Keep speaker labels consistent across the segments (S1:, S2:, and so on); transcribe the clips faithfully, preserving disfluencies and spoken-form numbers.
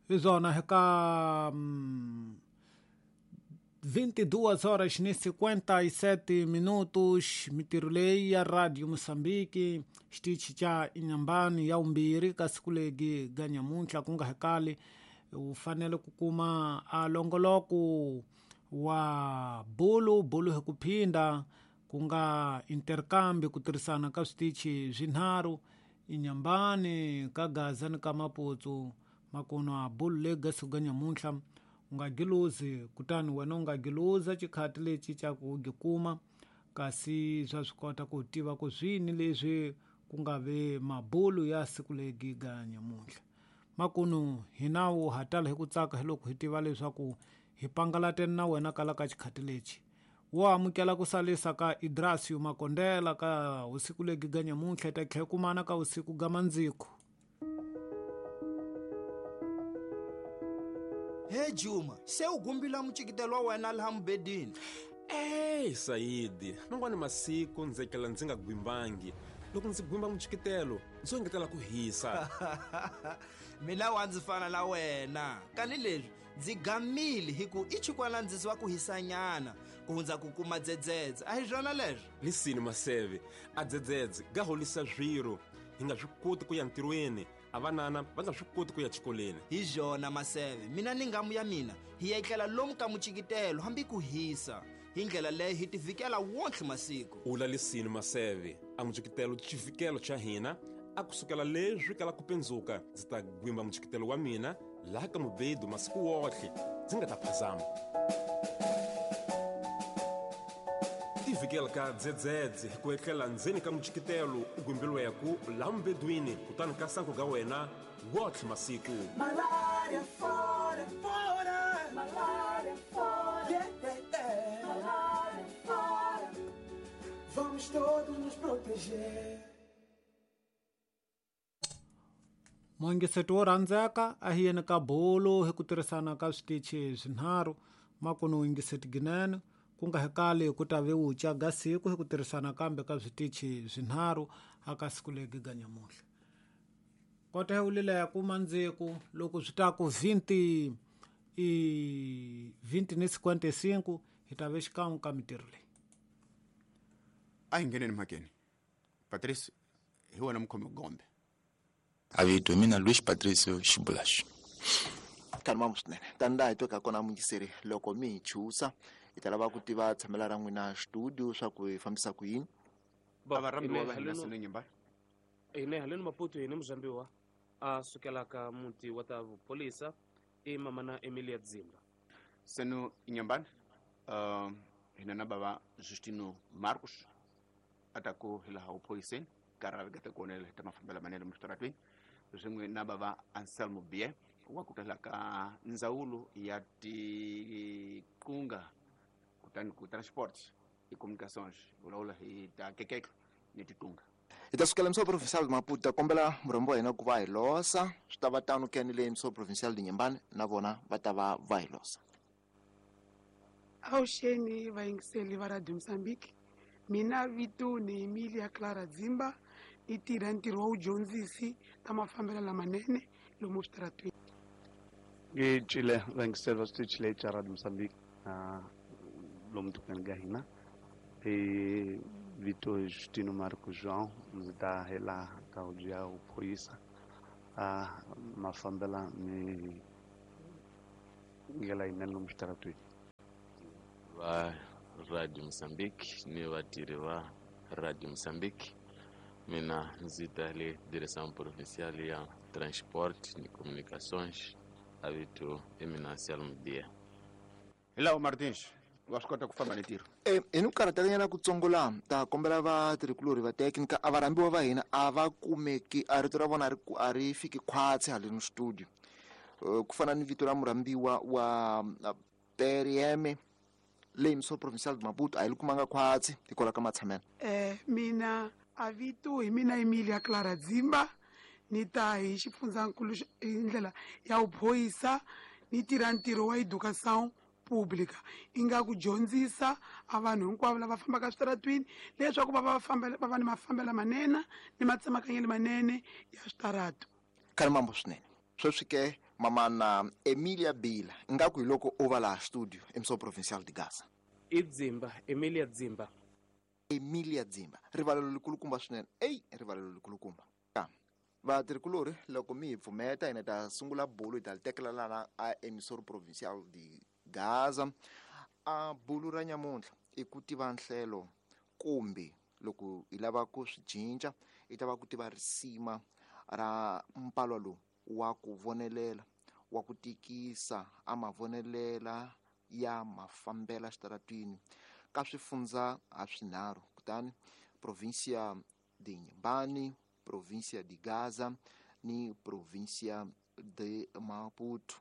S1: Hi swona eka mm, vinte e duas horas e cinquenta e sete minutos mitirho leyi ya Radio Moçambique xitichi xa Inhambane ya vumbirhi ka siku legi ga nyamuntlha ku nga hekali u fanele ku kuma a longoloko wa bulu bulu hi ku phinda ku nga intercambio ku tirhisana ka switichi swinharhu Inhambane ka Gaza ni ka Maputo makunwa bulu legi ga siku ga nyamuntlha u nga giluzi kutani wena u nga giluza xikhati lexi xa ku gikuma kasi swa swi kota ku tiva ku swini leswi ku nga ve mabulu ya siku legi ga nyamuntlha makunu hina wu hatala hi ku tsaka hi loko hi tiva leswaku hi pangalateni na wena kala ka xikhati lexi wo amukela ku salisa ka Idrasio Makondela ka usiku legi ga nyamuntlha ta tlhela kumana ka usiku ga mandziko.
S2: He Juma, se u gumbila mucikitelo wa wena laha mubedini.
S3: Ey Saidi, mangwani masiku ndzi etlela ndzi nga gwimbangi. Loko ndzi gwimba mucikitelo, ndzi engetela ku hisa.
S2: Mina wa ndzi fana na wena. Kani leswi ndzi gamile hi ku i chikwana ndzi wa ku hisanyana ku hundza ku kuma dzedzedze. A hi swona leswi?
S3: Lisini Maseve, a dzedzedze ga holisa swiro. Hi nga swi koti ku ya ntirhweni. A vanana va nga swi koti ku ya xikolweni.
S2: Hi swona Maseve, mina ni ngamu ya mina hi ya etlela lomu ka mucikitelo hambi ku hisa. Hi ndlela leyi hi tivikela wonke masiku.
S3: U lalisini Maseve, a mucikitelo xivikelo xa hina a kusukela leswi kala ku pendzuka ndzi ta gwimba mucikitelo wa mina laha ka mubedu masiku wohle ndzi nga ta phazama. Tivikela ka dzedzedze ku etlela ndzeni ka mucikitelo u gwimbiliweku laha mubedwini kutani ka sanku ga wena wotlhe masiku.
S4: Malaria fora, fora, malaria fora, yeah, yeah, yeah. Malaria fora. Vamos todos nos proteger.
S1: Mongiseto wo rhandzeka a hi yeni ka bolo hi ku tirhisana ka switichi swinharhu makunu yingiseti ginene ku nga hekali ku ta ve wuca ga siku hi ku tirhisana kambe ka switichi swinharhu aka siku legi ga nyamuntlha. Kota hi wulile ya ku mandziku loko swi ta ku vinte i vinte ni cinquenta e cinco hi ta ve xikan'we ka mitirho leyi.
S5: A hi ngheneni mhakeni. Patrice, hi wena mukhomi gombe.
S6: Avito mina Luis Patricio Xibulaxi.
S7: Kani mamu swinene. Tani laha hi tweka kona muyingiseri loko mi hi chusa hi ta lava ku tiva tshamela ra n'wina studio swa ku hi fambisa ku yini.
S5: A va rhambiwa va hina sine nyimba.
S8: Ine haleni Maputo hine muzambiwa a sukelaka muti wa ta vupholisa i mamana Emilia Dzimba.
S5: Seno Inhambane, uh, hina na bava Justino Marcos atako hi laha upholiseni karhi ga ta ta mafambelo manene mixitaratweni swin'we na bava Anselmo Bie wa ku tala ka ndzawulo ya tiqunga kutani ku transport i communications vulavula hi ta kekeklo ni tiqunga.
S7: Hi ta sukela Mso Provincial de Maputo kombela murhambi wa hina ku va hi losa swi ta va tano ke ni le Mso Provincial de Inhambane na vona va ta va va hi losa.
S9: Awuxeni vayingiseli va Radio Moçambique, mina vito ni Emilia Clara Dzimba ni tirha ntirho wa vudyondzisi ta mafambelo lamanene lomu switaratweni.
S10: Ngicile vayingiseli va switichi leyi xa Radio Moçambique lomu tikweni ka hina. I vito Justino Marco João ndzi ta hela ka huvo ya vuphoyisa a mafambela ni ndlela yinene lomu switaratweni.
S6: Va Radio Moçambique ni vatirhi va Radio Moçambique, mina ndzi ta le Direção Provincial ya Transporte ni Comunicações, a vito i mina Anselmo Dia.
S5: Hello Martins, wa swi kota ku famba ni ntirho.
S7: Eh, hi ni ku karhatekanyana kutsongo laha ta kombela vatirhikulorhi va teknika a varhambiwa va hina a va kumeki a rito ra vona a ri a ri fiki khwatsi haleni studio. Uh, ku fana ni vito ra murhambiwa wa P R M leyi Mso Provincial de Maputo a hi li kumanga khwatsi hikwalaho ka matshamelo.
S9: Eh, mina a vito hi mina Emilia Clara Dzimba ni ta hi xifundzankulu hi ndlela ya vuphoyisa ni tirha ntirho wa educação pública i nga ku dyondzisa a vanhu hinkwavo lava fambaka switaratwini leswaku va va fambela va va ni mafambelo manene ni matsemakanyelo manene ya switaratu.
S7: Kani mambo swinene sweswi ke Mamana Emilia Bila ngaku hi loko u va laha studio emissora provincial de Gaza.
S8: I Dzimba, Emilia Dzimba.
S7: Emilia Dzimba, rivalelo likulukumba swinene. Ey, rivalelo likulukumba. Vatirhikulori loko mi hi pfumeta hina ta sungula bulu hi ta li tekela lana a emissora provincial de Gaza. A bulu ra nyamuntlha i ku tiva nhlelo kumbe loko hi lava ku swi cinca i ta va ku tiva risima ra mpalwa lowu wa ku vonelela wa ku tikisa a mavonelela ya mafambela xitaratwini ka swifundza ha swinharhu, kutani provincia de Inhambane, provincia de Gaza ni provincia de Maputo.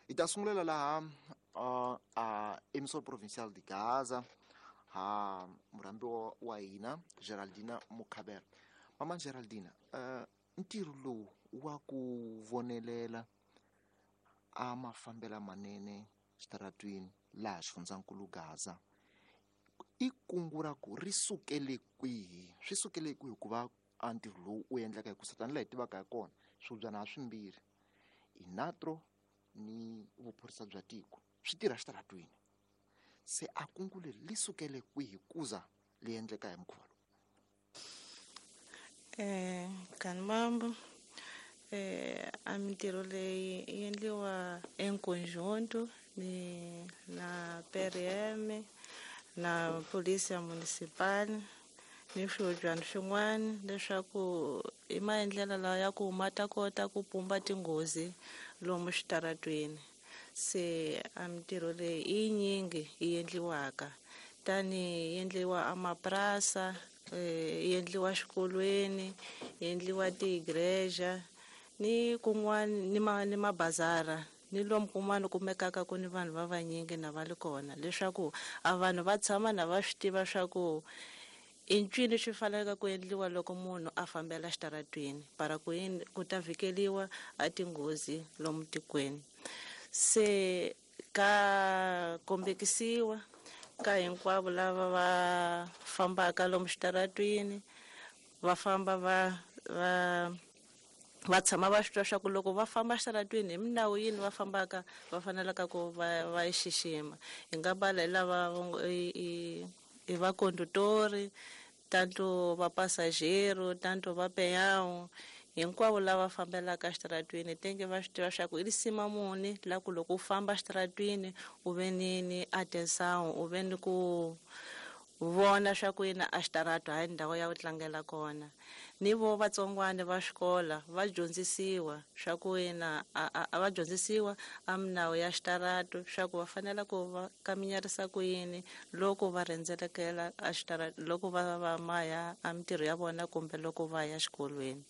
S7: Hi ta sungulela laha uh, a emissora provincial de Gaza ha murhambi wa hina Geraldina Mukhabela. Mama Geraldina, uh, ntirho lowu wa ku vonelela a mafambela manene xitaratwini laha xifundzankulu Gaza i kungu ra ku ri sukele kwihi? Swi sukele kwihi ku va a ntirho lowu u endleka hi ku satani laha hi tivaka hi kona swibyana ha swimbirhi inatro ni vuphorisa bya tiko swi tirha xitaratwini, se a kungu leri li sukele kwihi kuza li endleka hi mukhuva lowu?
S11: Eh, kanimambo eh a mintirho leyi yi endliwa enkonjunto ni na P R M na polisi municipal ni swihodyana swin'wana leswaku i maendlelo lawa ya ku ma ta kota ku pumba tinghozi lomu xitaratwini. Se a mintirho leyi i yinyingi yi endliwaka, tani yi endliwa amapurasa, yi endliwa xikolweni, yi endliwa tiigreja ni kun'wana ni ma ni mabazara ni lomu kun'wana kumekaka ku ni vanhu va vanyingi na va li kona, leswaku a vanhu va tshama na va swi tiva swa ku i ncini swi faneleke ku endliwa loko munhu a fambela xitaratwini para ku yini ku ta vhikeliwa a tinghozi lomu tikweni. Se ka kombekisiwa ka hinkwavo lava va fambaka lomu xitaratwini va famba va va va tshama va swi twa swa ku loko va famba xitaratwini hi minawu yini va fambaka va fanelaka ku va va yi xixima. Hi nga bala hi lava i i va condutori, tanto va passageiro, tanto va peão, hinkwavo lava fambelaka xitaratwini tenge va swi tiva swa ku i risima muni la ku loko u famba xitaratwini u ve ni ni atenção, u ve ni ku vona swa ku yina a xitarato hayi ndhawu ya ku tlangela kona. Ni vo vatsongwana va xikola va dyondzisiwa swa ku yina a va dyondzisiwa a minawu ya xitarato swa ku va fanela ku va kaminyarisa ku yini loko va rhendzelekela a xitarato loko va va maya a mintirho ya vona kumbe loko va ya xikolweni.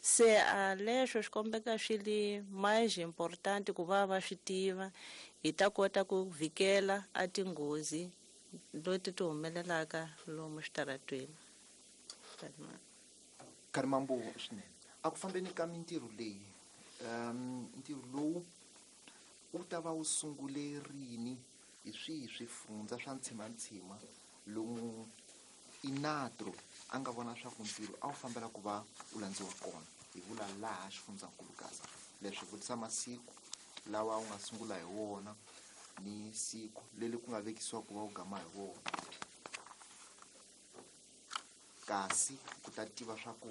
S11: Se a leswo swi kombeka swi li mais importante ku va va swi tiva hi ta kota ku vhikela a tinghozi leti ti humelelaka lomu xitaratweni.
S7: Karimambo swinene a ku fambeni ka mintirho leyi, um ntirho lowu wu ta va wu sungule rini hi swihi swifundza swa ntshimantshima lomu inatro a nga vona swa ku ntirho a wu fambela ku va wu landziwa kona? Hi vula laha xifundzankulu Gaza, leswi vutisa masiku lawa wu nga sungula hi wona ni siku leri ku nga vekisiwa ku va wu gama hi wona, kasi ku ta tiva swa ku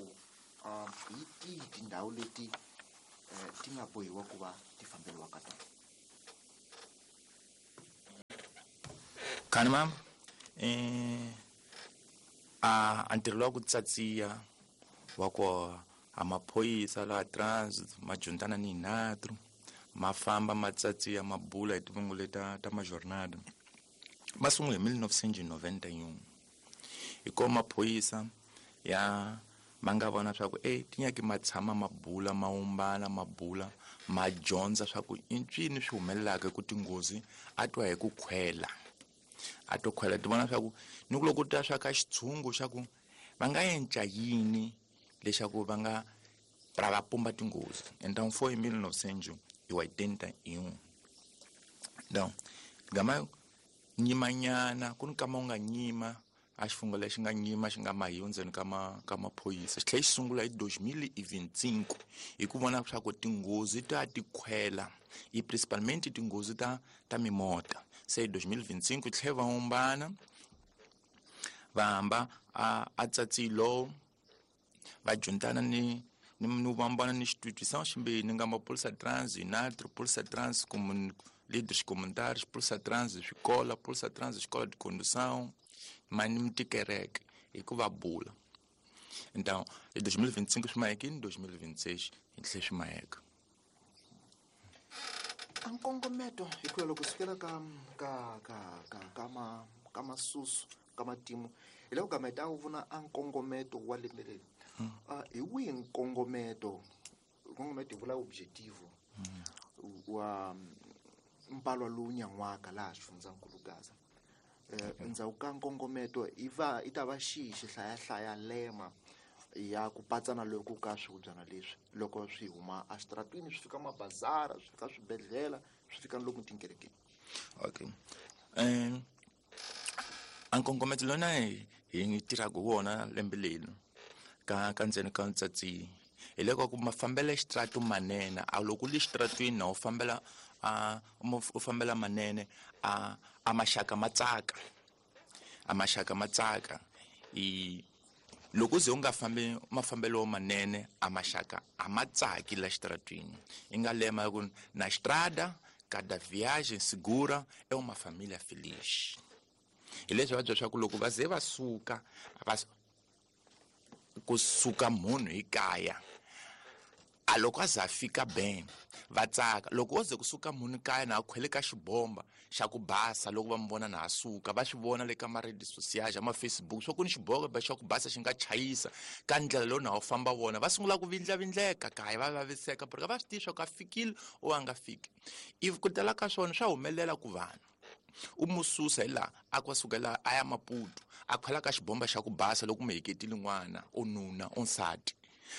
S7: um hi tihi tindhawu leti um ti nga bohiwa ku va ti famberiwa ka tona.
S12: Khani mama, eh a a ntirho lowa ku tsatsiya wa ku a maphorisa laha transit ma juntana ni inatro ma famba ma tsatsiya ma bula hi tivungu leta ta majornada ma sungule hi mille novecentos e noventa e um. Hi ko maphorisa ya ma nga vona swa ku e ti nyaki ma tshama ma bula ma umbana ma bula ma dyondza swa ku i ncini swi humelelaka ku tinghozi a twa hi ku khwela a to khwela ti vona swa ku ni ku loko ta swa ka xitshungu xa ku va nga enca yini leswaku va nga pra va pumba tinghozi. Então foi em mille novecentos e oitenta e um. Então gama nyimanyana ku ni kama u nga nyima A xifungho lexi nga nyima xi nga mahiwa ndzeni ka ma ka maphorisa xi tlhela xi sungula hi dois mil e vinte e cinco hi ku vona leswaku tinghozi ta ti khwela i principalmente tinghozi ta ta mimota se hi dois mil e vinte e cinco tlhela va humbana va hamba a a tsatsilo va juntana ni ni ni vambana ni instituição ximbirhi nga maphorisa trans inatro polícia trans comun líderes comunitários polícia trans escola polícia trans escola de condução mas ni mitikereke hi ku va bula. Então em dois mil e vinte e cinco swi mahekini dois mil e vinte e seis hi tlhe swi maheka.
S7: A nkongometo hi ku ya loko sukela ka ka ka ka ka ma ka masusu ka matimu hi loko gama hi ta vona a nkongometo wa lembe leri. Hi wihi nkongometo nkongometo hi vula objetivo wa mpalwa lowu nyan'waka laha xifundzankulu Gaza? Endzhaku ka nkongometo i va i ta va xihi xihlayahlaya lema ya ku patsana loko ka swihubyana leswi loko swi huma exitaratwini swi fika mabazara swi fika swibedhlele swi fika lomu tinkerekeni?
S12: Okay, um a nkongometo lona hi hi tirhaka wona lembe leri ka ka ndzeni ka ntsatsi hi loko ku mafambelo ya xitratu manene a loko u le xitratwini na u fambela a u fambela manene a a maxaka ma tsaka a maxaka ma tsaka i loko ze u nga fambi mafambelo manene a maxaka a ma tsaki la xitratwini i nga lema ku na estrada cada viagem segura é uma família feliz. Hi leswi va byela swa ku loko va ze va suka va kusuka munhu hi kaya a loko a za fika ben va tsaka loko o ze kusuka munhu kaya na a khwele ka xibomba xa ku basa loko va mi vona na a suka va swi vona le ka ma-redes sociais ma Facebook swa ku ni xibomba xa ku basa xi nga chayisa ka ndlela lowu na wu famba vona va sungula ku vindlavindleka kaya va vaviseka porque va swi tivi swa ku a fikile o a nga fiki. If ku tala ka swona swa humelela ku vanhu u mu susa hi laha a ku suka laha a ya Maputo a khwela ka xibomba xa ku basa loko mu heketile n'wana o nuna o nsati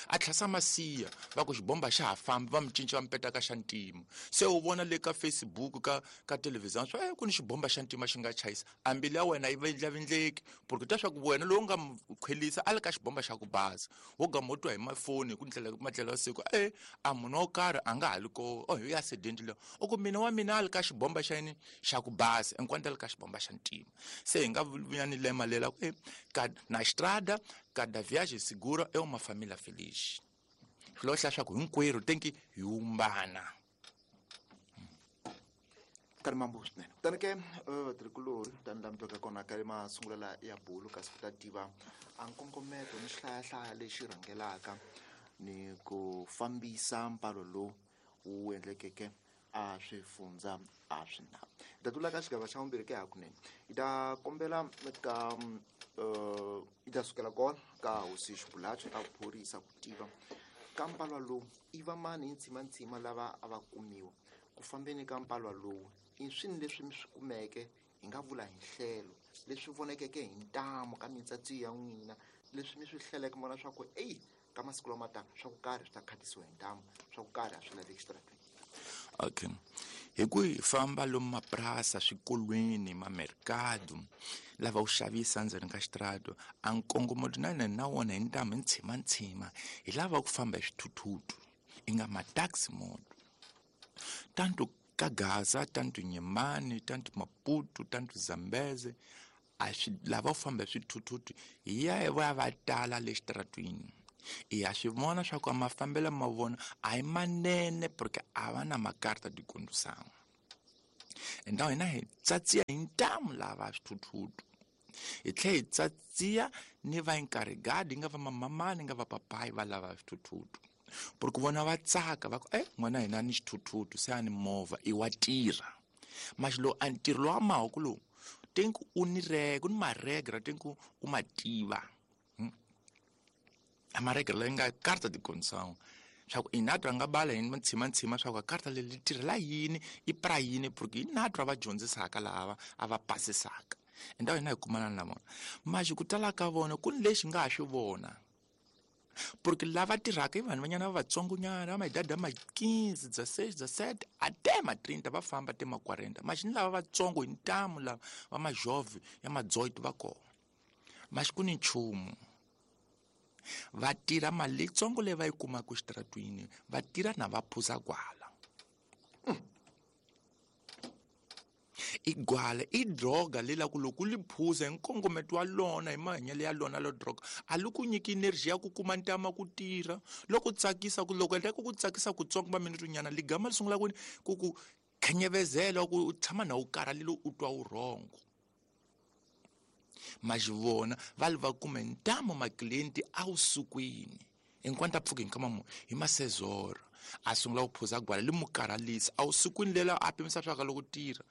S12: a tlhasa masiya va ku xibomba xa ha fambi va mi cinca va mi peta ka xa ntima se u vona le ka Facebook ka ka television swa eh ku ni xibomba xa ntima xi nga chayisa a mbilu ya wena yi vindlavindleki porque ta swa ku wena lowu nga mu khwelisa a le ka xibomba xa ku basa wo gama u twa hi mafoni hi ku ndlela madlela ya siku eh a munhu wo karhi a nga ha li ko oh hi accident leyi u ku mina wa mina a li ka xibomba xa yini xa ku basa enkwanta li ka xibomba xa ntima se hi nga vuya ni lema lela ku eh ka na estrada cada viagem segura é uma família feliz. Swilo hlaya swa ku hinkwerhu tenki hi humbana.
S7: Ka ri swinene kutani ke vatirhikulori tani laha mi twaka kona ka masungulo ya bulu kasi ku ta tiva a nkongometo ni xihlayahlaya lexi rhangelaka ni ku fambisa mpalo lowu wu endlekeke a swifundza a swi na. Hi ta tlula ka xigava xa vumbirhi ke hakunene hi ta kombela ka hi ta sukela kona ka hosi Xibulachi ta phorisa ku tiva ka mpalwa lowu i va mani hi ntsimantsima lava a va kumiwa ku fambeni ka mpalwa lowu i swini leswi mi swi kumeke hi nga vula hi nhlelo leswi vonekeke hi ntamu ka mintsatsi ya n'wina leswi mi swi hleleke mona swa ku eyi ka masiku lama taka swa ku karhi swi ta khatisiwa hi ntamu swa ku karhi a swi laveki xitaratweni?
S12: Okay, hi ku hi famba lomu mapurasa swikolweni mamerikado lava wu xavisa ndzeni ka xitrato a nkongometo na na wona hi ntamu hi ntshimantsima hi lava ku famba hi swithuthutu i nga ma-taxi moto tanto ka Gaza tanto Nyemani tanto Maputo tanto Zambeze a swi lava ku famba hi swithuthutu hi ya va ya va tala le xitaratwini. I ya swi vona swa ku mafambelo ma vona a hi manene porque a va na makarta de condução. Então hina hi tsatsiya hi ntamu lava swithuthutu hi tlhela hi tsatsiya ni va encarregado nga va mamamani nga va papai va lava swithuthutu porque vona va tsaka va ku eh n'wana hina ni xithuthutu se a ni movha i wa tirha mas lowu a ntirho lowa mahoko lowu tenku u ni reg u ni maregra tenku u ma tiva a maregra leyi nga carta de condução swa ku inatwa nga bala hi ntshimantsima swa ku karta leri tirhela yini i pra yini porque inatwa va dyondzisaka lava a va pasisaka endawo hina hi kumana na vona maxi ku tala ka vona ku ni lexi nga ha swi vona porque lava tirhaka i vanhu vanyana va vatsongonyana va maidadi ya ma quinze, dezesseis, dezessete até ma trinta va famba te ma quarenta maxi ni lava vatsongo hi ntamu lava va majove ya ma dezoito va kona Mas ku ni nchumu. Va tirha mali leyitsongo leyi va yi kumaka exitaratwini, va tirha na va phuza gwala. I gwala i droga leyi la ku loko u li phuza hi nkongometo wa lona hi mahanyelo ya lona lo droga a li ku nyiki energy ya ku kuma ntama ku tirha loko tsakisa ku loko endleka ku tsakisa kutsongo va minute nyana ligama li sungula ku ku ku khenyevezela ku u tshama na u karhalile u twa vurhongo. Mas vona va li va kume ntamu maklienti awusukwini enquanto a pfuka hi nkama muni hi masezora a sungula ku phuza gwala li mu karhalisa awusukwini lela a pimisa swa ka loko tirha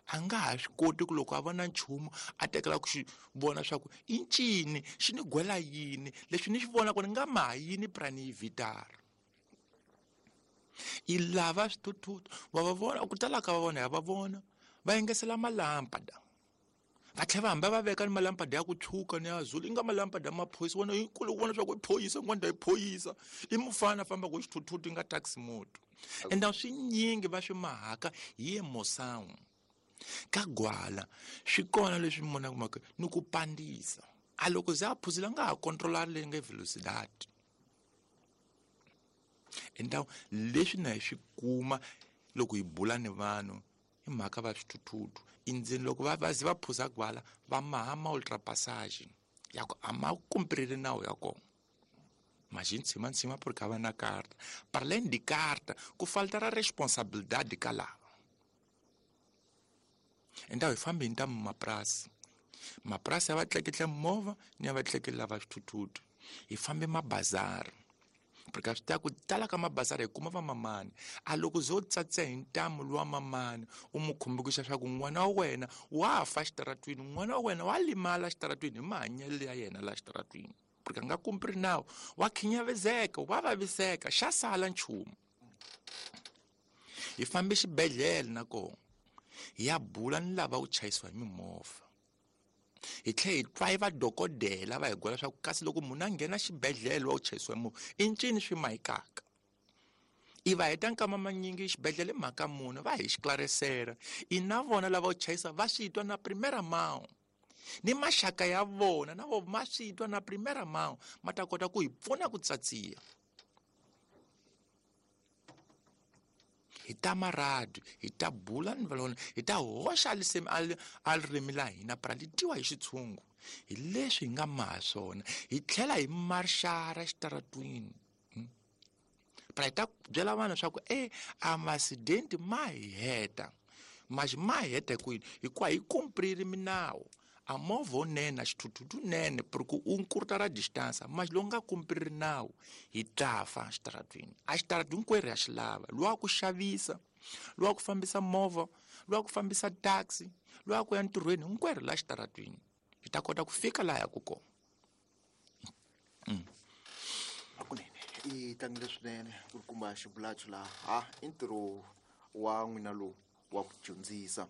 S12: a nga ha swi koti ku loko a vona nchumu a tekela ku xi vona swa ku i ncini xi ni gwela yini leswi ni xi vona ku ni nga maha yini prani yi vitara. I lava swithuthuthu wa va vona ku tala ka va vona ya va vona va yingisela malampada va tlhela va hamba va veka ni malampada ya ku tshuka ni ya zulu i nga malampada ma phorisa wona hi kule ku vona swa ku i phorisa n'wana i phorisa i mufana fambaka hi xithuthuthu i nga taxi moto ende swinyingi va swi mahaka hi emoção ka gwala swi kona leswi mi vonaka mhaka ni ku pandisa a loko ze a phuzile a nga ha controla leyi nga velocidade. Então leswi na hi swi kuma loko hi bula ni vanhu i mhaka va swithuthuthu endzeni loko va va ze va phuza gwala va maha ma ultrapassage ya ku a ma kumpreli nawu ya kona mas em cima em cima porque va na carta para além de carta ku falta ra responsabilidade ka lava. Então hi fambe hi ntamu mapurasi mapurasi ya va tleketla movha ni ya va tleketla va swithuthuthu hi fambe mabazari porque swi ta ku tala ka mabazari hi kuma va mamani a loko zo tsatsa hi ntamu luwa mamani u mu khumbukisa swa ku n'wana wa wena wa fa xitaratwini n'wana wa wena wa limala xitaratwini hi mahanyelo ya yena la xitaratwini porque a nga kumpri nawu wa khinyavezeka wa vaviseka xa sala nchumu. Hi fambe xibedhlele na kona hi ya bula ni lava ku chayisiwa hi mimovha hi tlhela hi twa hi va dokodela va hi gwela swa ku kasi loko munhu a nghena xibedhlele wa ku chayisiwa hi movha i ncini swi mahikaka i va heta nkama manyingi xibedhlele mhaka munhu va hi xiklarisela i na vona lava ku chayisa va swi twa na primera mão ni maxaka ya vona na vo ma swi twa na primera mão ma ta kota ku hi pfuna ku tsatsiya. Hi ta maradu hi ta bula ni valona hi ta hoxa lisemi a ririmi la hina para li twiwa hi xitshungu hi leswi hi nga maha swona hi tlhela hi marxara xitaratwini para hi ta byela vanhu swa ku e a masidenti ma hi heta mas ma hi heta kwini hikuva hi kumprili minawu a movha wunene a xithuthuthu nene porque u nkurta ra distance mas lowu nga kumprili nawu hi ta fa xitaratwini a xitaratwini hinkwerhu ya xi lava luwa ku xavisa luwa ku fambisa movha luwa ku fambisa taxi luwa ku ya ntirhweni hinkwerhu la xitaratwini hi ta kota ku fika laha yaku kona.
S7: Hakunene i tlangile swinene ku kuma xibulachu laha ha i ntirho wa n'wina lowu wa ku dyondzisa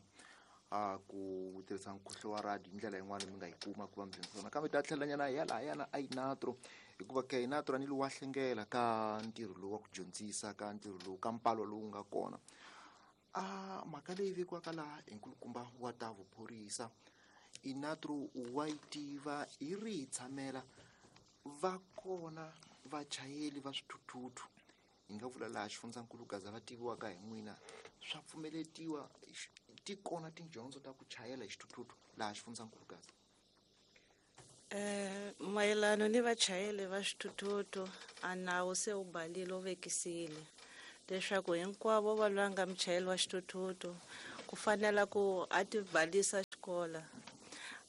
S7: a ku tirhisa nkhuhlo wa radio hi ndlela yin'wana mi nga yi kuma ku va mi dyondzisa nakambe ta tlhelanyana hi ya lahayana a Inatro hikuva ka Inatro a ni lowu wa hlengela ka ntirho lowu wa ku dyondzisa ka ntirho lowu ka mpalo lowu nga kona a mhaka leyi vekiwaka laha hi nkulukumba wa ta vuphorisa Inatro wa yi tiva hi ri hi tshamela va kona vachayeri va swithuthuthu hi nga vula laha xifundzankulu Gaza va tiviwaka hi n'wina swa pfumeletiwa ti kona tidyondzo ta ku chayela hi xithuthuthu laha xifundzankulu Gaza?
S11: Eh mayelana ni vachayeri va xithuthuthu a nawu se wu balile wu vekisile leswaku hinkwavo va lwa nga muchayeri wa xithuthuthu ku fanela ku a ti balisa xikola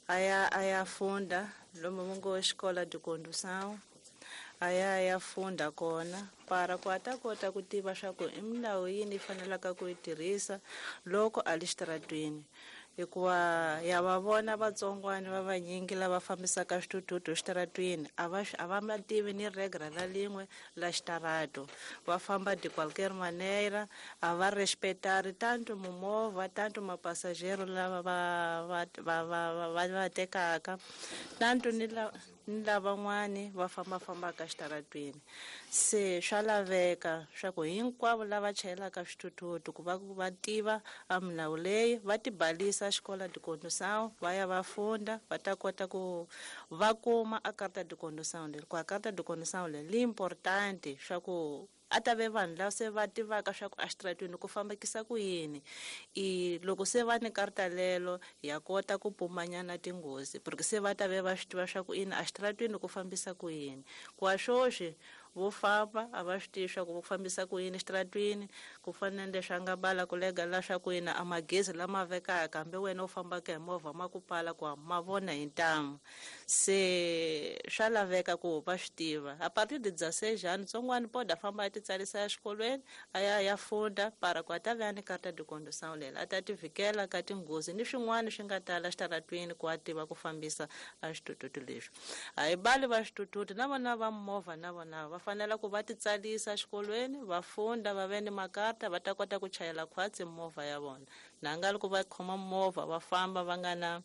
S11: a ya a ya funda lomu mu ngo xikola de condução a ya ya funda kona para ku a ta kota ku tiva swa ku i milawu yini yi fanelaka ku yi tirhisa loko a li xitaratwini hikuva ya va vona vatsongwana va vanyingi lava fambisaka swithuthuthu xitaratwini a va a va ma tivi ni regra la lin'we la xitarato va famba de qualquer maneira a va respetari tanto mimovha tanto mapasajero lava va va va va va va tekaka tanto ni la ni lavan'wani va fambafambaka xitaratwini. Se swa laveka swa ku hinkwavo lava chayelaka swithuthuthu ku va va tiva a milawu leyi, va tibalisa xikola de condução, va ya va funda, va ta kota ku va kuma a carta de condução leri. Ku a carta de condução leri li importante swa ku a ta ve vanhu lava se va tivaka swa ku exitaratwini ku fambekisa ku yini. I loko se va ni karta lelo ya kota ku pumanyana tinghozi, porque se va ta ve va swi tiva swa ku ina exitaratwini ku fambisa ku yini. Ku a swoswi vo famba a va swi tivi swa ku fambisa ku yini exitaratwini, ku fana na leswi a nga bala ku lega la swa ku yini a magezi lama vekaka hambi wena u fambaka hi movha ma ku pala ku ma vona hi ntamu. Se swa laveka ku va swi tiva. A partir de dezesseis anos tsongwani pode a famba a ti tsarisa exikolweni a ya ya funda para ku a ta ve ni carta de condução lela, a ta ti vhikela ka tinghozi ni swin'wana swi nga tala exitaratwini ku a tiva ku fambisa a xithuthuthu lexi. A hi bali va xithuthuthu na vona va movha na vona va fanele ku va ti tsarisa exikolweni, va funda, va ve ni makarta, va ta kota ku chayela khwatsi movha ya vona. Na nga loko va khoma movha va famba va nga na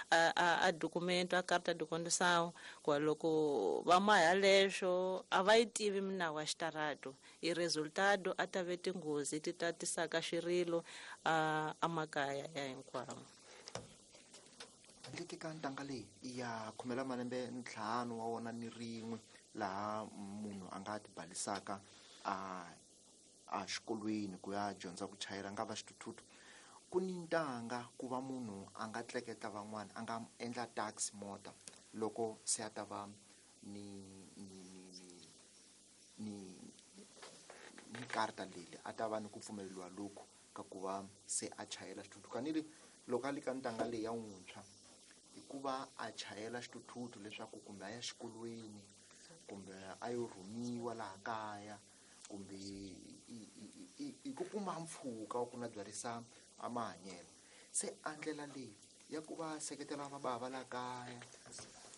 S11: a, a, a documento, a carta de condução, ku loko va maha leswo a va yi tivi minawu ya xitarato, i resultado a ta ve tinghozi ti ta tisaka xirilo a emakaya ya hinkwavo.
S7: Handle ka ntanga leyi ya khomela malembe ntlhanu wa wona ni rin'we laha munhu a nga tibalisaka a a xikolweni ku ya dyondza ku chayela nga va xithuthuthu. Ku ni ntanga ku va munhu a nga tleketla van'wana, a nga endla taxi mota loko se a ta va ni ni ni ni ni karta leyi a ta va ni ku pfumeleriwa loku ka ku va se a chayela xithuthuthu. Kanile loko a li ka ntanga leyi ya wuntshwa i ku va a chayela xithuthuthu leswaku kumbe a ya xikolweni, kumbe a yo rhumiwa laha kaya, kumbe i ku kuma mpfhuka wa ku na byarisa a mahanyelo. Se a ndlela leyi ya ku va seketela va bava laha kaya,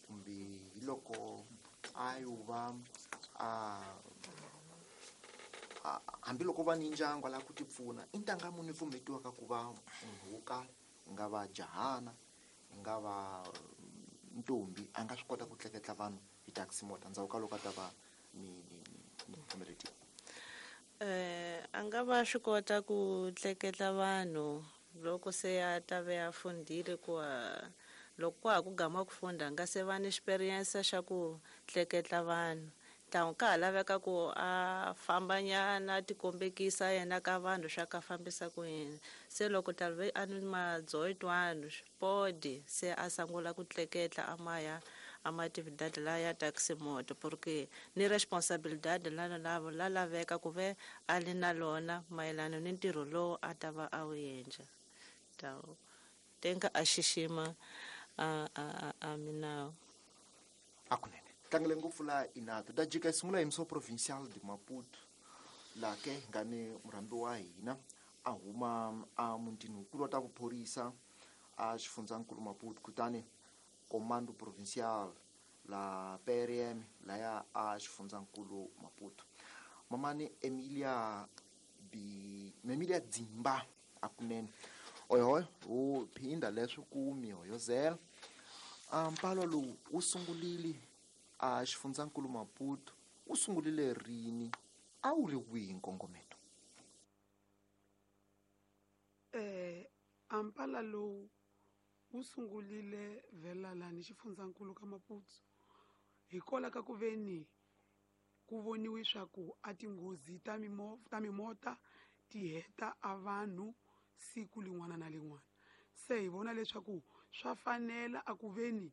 S7: kumbe hi loko a yo va a hambiloko va ni ndyangu a lava ku ti pfuna, i ntanga muni pfumetiwaka ku va munhu wo karhi, ku nga va jahana, ku nga va ntombi, a nga swi kota ku tleketla vanhu hi taxi mota ndzhaku ka loko a ta va ni ni ni pfumeletiwa?
S11: Eh, a nga va swi kota ku tleketla vanhu loko se a ta ve a fundile, ku loko kwa ha ku gama ku funda a nga se va ni experience xa ku tleketla vanhu. Ntangu ka ha laveka ku a fambanyana a tikombekisa yena ka vanhu swa ka fambisa ku yini. Se loko ta ve a ni madzoyitwani podi se a sungula ku tleketla a maya a matividade la ya taxi moto, porque ni responsabilidade la la la laveka ku ve a li na lona mayelana ni ntirho lowu a ta va a wu endla. Ta tenga a xixima a a a minawu.
S7: Akunene tlangele ngopfu laha inato ta jika hi sungula hi muso provincial de Maputo, laha ke hi nga ni murhambi wa hina a huma a mutini wukulu wa ta vuphorisa a xifundzankulu Maputo, kutani comando provincial la P R M laya a xifundzankulu Maputo. Mamani Emilia B Emilia Dzimba akunene oyoyo wu phinda leswi ku mihoyozela. A mpalo lowu wu sungulile a xifundzankulu Maputo, wu sungulile rini, a wu ri wihi nkongometo?
S9: Eh, ampala lowu wu sungulile vhela lani xifundzankulu ka Maputo hikwalaho ka ku veni ku voniwe swa ku a tinghozi ta mimo ta mimota ti heta a vanhu siku lin'wana na lin'wana. Se hi vona leswaku swa fanela a ku veni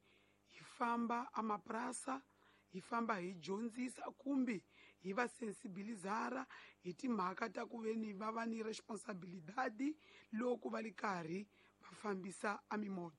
S9: hi famba a mapurasa, hi famba hi dyondzisa kumbe hi va sensibilizara hi timhaka ta ku veni va va ni responsabilidade loko va li karhi va fambisa a mimota.